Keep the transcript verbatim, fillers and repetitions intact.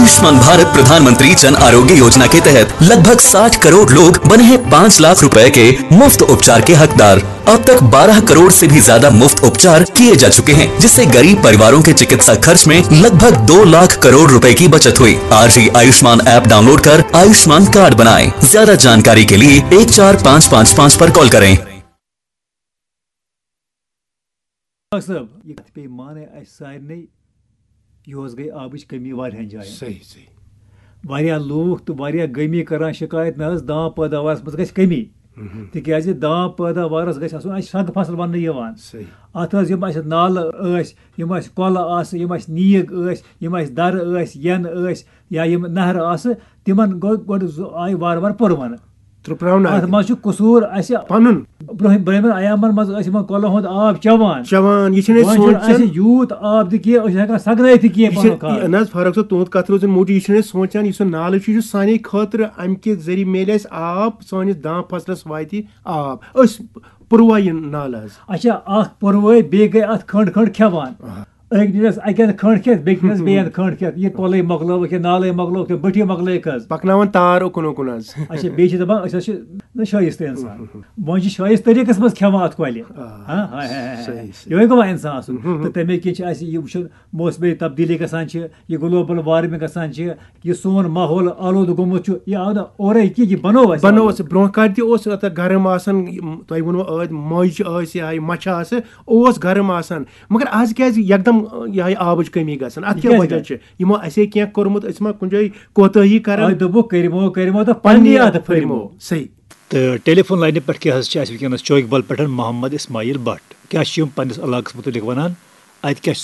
आयुष्मान भारत प्रधानमंत्री जन आरोग्य योजना के तहत लगभग साठ करोड़ लोग बने हैं पाँच लाख रुपए के मुफ्त उपचार के हकदार। अब तक बारह करोड़ से भी ज्यादा मुफ्त उपचार किए जा चुके हैं, जिससे गरीब परिवारों के चिकित्सा खर्च में लगभग दो लाख करोड़ रुपए की बचत हुई। आज ही आयुष्मान ऐप डाउनलोड कर आयुष्मान कार्ड बनाएं। ज्यादा जानकारी के लिए एक चार पाँच पाँच पाँच पर कॉल करें। ڈاکٹر صٲب، یہِ کَتھ پیٚیہِ مانٕنۍ اَسہِ سارنٕے، یُہُس گٔے آبٕچ کٔمی واریاہَن جایَن۔ صحیح صحیح۔ واریاہ لوٗکھ تہٕ واریاہ گٲمی کَران شِکایت، نہ حظ، دام پٲداوارَس منٛز گژھِ کٔمی۔ تِکیٛازِ دام پٲداوارَس گژھِ آسُن اَسہِ سنٛگہٕ فصل وَننہٕ یِوان۔ صحیح۔ اَتھ حظ یِم اَسہِ نالہٕ ٲسۍ، یِم اَسہِ کۄلہٕ آسہٕ، یِم اَسہِ نیٖگ ٲسۍ، یِم اَسہِ دَرٕ ٲسۍ، یَنہٕ ٲسۍ یا یِم نہرٕ آسہٕ، تِمَن گوٚو گۄڈٕ زٕ آیہِ وارٕ وارٕ پُرونہٕ۔ ترٛپراونہٕ اَتھ اَتہِ۔ منٛز چھُ قصوٗر اَسہِ۔ پَنُن۔ برٛونٛہہ برٛونٛہمٮ۪ن ایامَن منٛز ٲسۍ یِمَن کۄلَن ہُنٛد آب چٮ۪وان۔ چٮ۪وان، یہِ چھِنہٕ أسۍ وۄنۍ چھُنہٕ سونٛچان۔ اَسہِ یوٗت آب تہِ کینٛہہ، أسۍ چھِنہٕ ہٮ۪کان سَگنٲیِتھ تہِ کینٛہہ یہِ چھِ پَنُن خاص۔ نہ حظ، فرق چھو، تُہُنٛد کَتھ روزِن موٗجوٗد، یہِ چھِنہٕ أسۍ سونٛچان، یُس یہِ نالہٕ چھُ، یہِ چھُ سانے خٲطرٕ، اَمہِ کہِ ذٔریعہٕ میلہِ اَسہِ آب، سٲنِس دام فصلَس واتہِ آب۔ أسۍ پُروا یہِ نالہٕ حظ۔ اچھا، اَکھ پُروٲے، بیٚیہِ گٔے اَتھ کھنٛڈ کھنٛڈ کھٮ۪وان۔ أکۍ دِژ اَکہِ اَندٕ کھنٛڈ کھٮ۪تھ، بیٚیہِ دِژ بیٚیہِ اَندٕ کھنٛڈ کھٮ۪تھ، یہِ کۄلٕے مۄکلٲوٕکھ، یہِ نالَے مۄکلٲوٕکھ، تہٕ بٔٹھی مۄکلٲوٕکھ حظ۔ پَکناوان تار اُکُن اُکُن حظ۔ اچھا، بیٚیہِ چھِ دَپان أسۍ حظ چھِ نہ شٲیِستہٕ اِنسان۔ وۄنۍ چھِ شٲیِستہٕ طٔریٖقَس منٛز کھٮ۪وان اَتھ کۄلہِ۔ ہاں، ہاے، ہاے، ہاے، ہاے۔ صحیح، صحیح۔ یِہوٚے گوٚو اِنسان آسُن۔ تہٕ تَمے کِنۍ چھِ اَسہِ یہِ وٕچھُن، موسمٕچ تبدیٖلی گژھان چھِ، یہِ گلوبل وارمنگ گژھان چھِ، یہِ سون ماحول آلودٕ گوٚمُت چھُ، یہِ آو نہٕ اورَے کینٛہہ، یہِ بَنوو اَسہِ۔ بَنوو اَسہِ۔ برونٛہہ کالہِ تہِ اوس یوٗتاہ گرم آسان، یِم تۄہہِ ووٚنوُ ٲدۍ مۄنٛجہِ چھِ ٲسۍ یا یہِ مَچھِ آسہٕ، اوس گرم آسان۔ مگر آز کیٛازِ یکدم، آ، یہِ ہاے آبٕچ کٔمی گژھان؟ اَتھ کیٛاہ کیٛازِ وجہ گژھِ؟ چھِ؟ یِمو اَسے کینٛہہ کوٚرمُت، أسۍ ما کُنہِ جایہِ کوتٲہی کران؟ آے دوٚپُکھ، کٔرِمو، کٔرِمو تہٕ پننی اَتھٕ پھٔرِمو۔ صحیح۔ تہٕ ٹیلی فون لاینہِ پٮ۪ٹھ کیٛاہ حظ چھِ اَسہِ وٕنکیٚنَس چوکہِ بل پٮ۪ٹھ محمد اسماعیل بٹ؟ کیٛاہ چھِ یِم پننِس علاقَس مُتعلِق وَنان؟ اَتہِ کیٛاہ چھِ